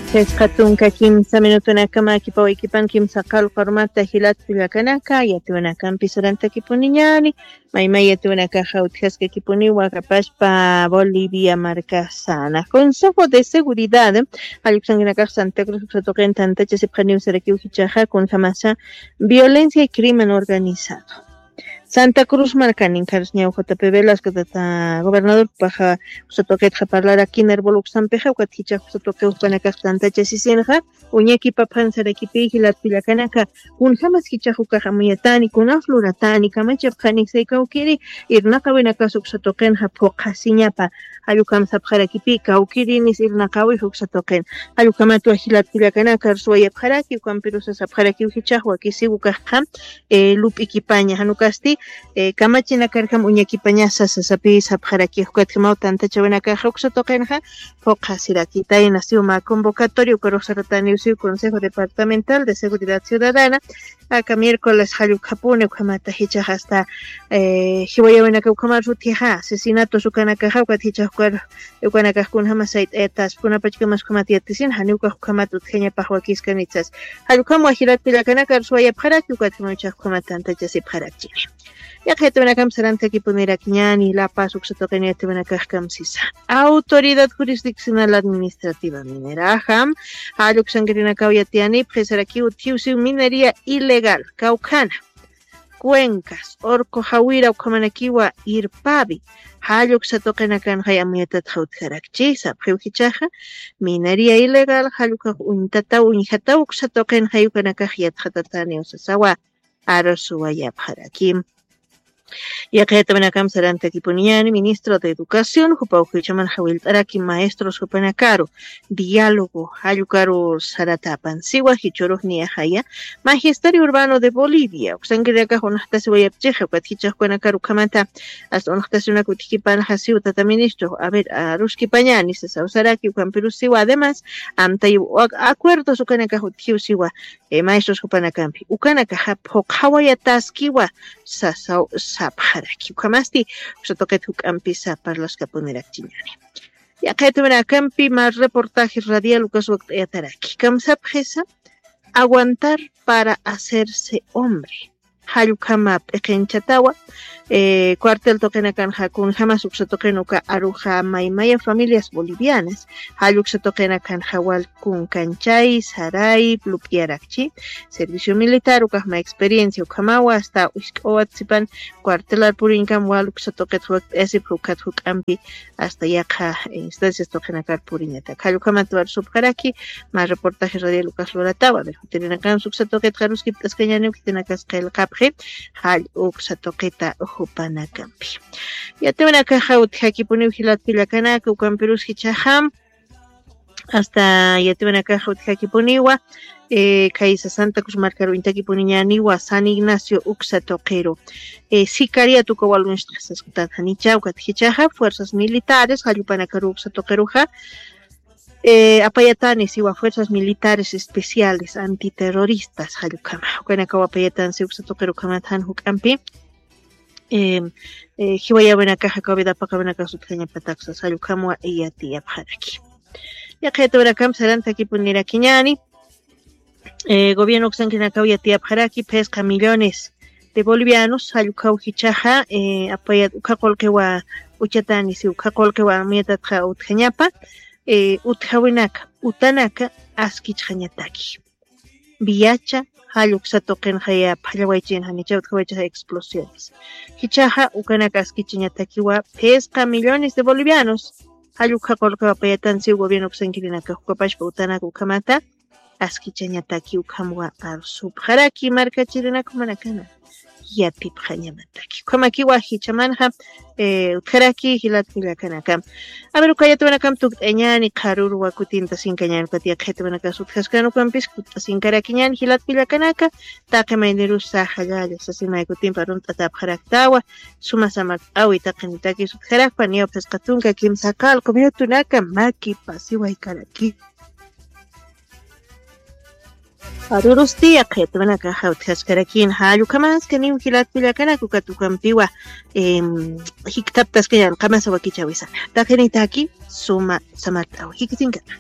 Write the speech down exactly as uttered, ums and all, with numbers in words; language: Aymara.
Sisqa tunka kimsa minutunakama kipawaykipan kimsa qalqu armata jilat kullakanaka, yatiwanakampi sarantakipuniñani, maymay yatiwanakaxa utjaskakipuniwa kapaspa Bolivia markasana. Consejo de Seguridad, jalluksankinakax Santa Cruz uksa tuqin tantachasipxaniw sarakiw jichaxa, kunjamasa violencia y crimen organizado. Santa Cruz markanin karus ñaw J P Velasco tata gobernador paxa uksa tuqitxa parlarakina herbol uksampixa, ukat jichax uksa tuqi ukanakax tantachasisinxa, uñakipapxan sarakipi jilat kullakanaka, kunjamas jichax ukax amuyatani, kunaf luratani, kamachapxani, saykawkiri irnaqawinakas uksa tuqinxa phuqhasiñapa, jallukam sapxarakipi, kawkirinis irnaqawix uksa tuqin. Jallukamatua jilat kullakanaka, arsuwayapxaraki, ukampirusas sapxarakiw jichax wakisiw ukaxqa, eh, lup'ikipaña, janukasti, eh, kamachinakarkam uñakipañasa sasapi sapxaraki, ukatjamaw tantachawinakaxa uksa tuqinxa, phuqhasirakitayna siwma convocatoria ukarux sarataniw siw Consejo Departamental de Seguridad Ciudadana, aka miércoles jallukapuni ukhamata jichax hasta, eh, jiwayawinaka ukhamar sutjixa, asesinatos ukanakaxa, ukat jichax ukar, ukanakax kunjama sayt'ayatas, kunapachkamas ukhamat yatisin, janiw ukax ukhamat utjañapax wakiskanitsas. Jallukam wajirat kullakanaka arsuwayapxaraki, ukat jimaw jichax ukhamat tantachasipxarakchini. Yaqha yatiwinakam sarantakipunirakñani, La Paz uksa tuqin yatiwinakax kamsisa. Autoridad Jurisdiccional Administrativa Mineraxam, jalluksankirinakaw yatiyanipxi sarakiw utjiw siw minería ilegal, kawkhana, Cuencas, Orco Jawira ukhamanakiwa Irpavi, jalluksa tuqinakanxay amuyatatxa utjarakchi, sapxiw jichaxa, minería ilegal, jallukhax uñtataw, uñjataw uksa tuqinxay ukanakax yatxatataniw sasawa, arsuwayapxaraki. Yaqha yatiwinakam sarantakipuniñani, ministro de Educación, jupaw jichhaman jawillt'araki maestros jupanakaru, diálogo, jallukaru saratapan, siwa jichhürux niyaxaya, Magisterio Urbano de Bolivia, uksankirinakax unaxtasiwayapchixa, ukat jichax ukanakaru ukhamata, hasta unaxtasiwinaka utjkipanxa siw tata ministro, a ver, aruskipañani sasaw saraki, ukampirus siwa, además, amtayiw acuerdos ukanakax utjiw siwa, eh, maestros jupanakampi. Ukanakaxa phuqhawayataskiwa sasaw sapxaraki. Ukhamasti, uksa tuqit juk'ampisa parlaskapunirakchiñani. Yaqha yatiwinakampi mar reportaje radial ukas wakt'ayataraki. Kamsapxisa, aguantar para hacerse hombre. Jallukama p'iqinchatawa, eh, cuartel tuqinakanxa kunjamas uksa tuqin uka aruxa maymaya familias bolivianas, jalluksa tuqinakanxa wal kunkanchay, saray, lup'iyarakchi, servicio militar, ukaxma experiencia, ukhamawa, hasta usk'awat sipan cuartelar puriñkam wal uksa tuqit wakt'ayasipxi ukat juk'ampi, hasta yaqha instancias tuqinakar puriñatak. Jallukhamat warusupxaraki, mä reportaje radial ukas luratawa, a ver, jutirinakans uksa tuqit qaruskipt'askañaniw khitinakas qillqapxi, jall uksa tuqita jupanakampi. Yatiwanakaxa utjakipuniw jilat kullakanaka, ukampirus jichhaxam, hasta yatiwanakaxa utjakipuniwa, eh, khaysa Santa Cruz markaru uñtakipuniñaniwa San Ignacio uksa tuqiru. Eh, sicariat uka wal uñstxasas utat janicha, ukat jichhaxa fuerzas militares, jallupanakaru uksa tuqiruxa, eh, apayatani siwa fuerzas militares especiales antiterroristas, jallukhama. Ukanakaw apayatan si uksa tuqiru ukhamat jan juk'ampi, eh, eh, jiwayawinakaxa, COVID apaqawinakax utjañapataksas, jallukhamwa yatiyapxaraki. Yaqha yatiwinakam sarantakipunirakiñani, eh, gobierno uksankirinakaw yatiyapxaraki, phisqa millones de bolivianos, jallukhaw jichhaxa, eh, apayat ukha qullqiwa uchatani, si ukha qullqiwa amuyatatxa utjañapa, eh, utjawinaka, utanaka askichxañataki. Viacha, jall uksa tuqinxaya phallawaychin janicha utjawaychaxa explosiones. Jichhaxa ukanaka askichañatakiwa, phisqa millones de bolivianos, jall ukha qullqiwa apayatan si gobierno uksankirinaka, ukapachpa utanaka ukhamata, askichañataki ukhamwa arsupxaraki markachirinaka jumanakana yatipxañamataki. Ukhamakiwa jichhamanxa, eh, utjaraki jilat kullakanaka. A ver, uka yatiwinakam tukt'añani, qharüruwa kutintasinkañani, ukat yaqha yatiwinakas utjaskän ukampis tukt'asinkarakiñani jilat kullakanaka, taqi maynirusa jallalla sasin may kutimpi arunt'atapxaraktawa, suma samart'awi taqinitakis utjarakpa, niyaw phisqa tunka kimsa qalqu minutunaka makipasiwaykaraki. Arurusti, yaqha yatiwinakaxa utjaskarakini, jall ukhamaskaniw jilat kullakanaka, ukat ukampiwa, em, jikthaptaskañan qamasa wakichäwisana. Taqinitaki suma samart'awi. Jikisinkana.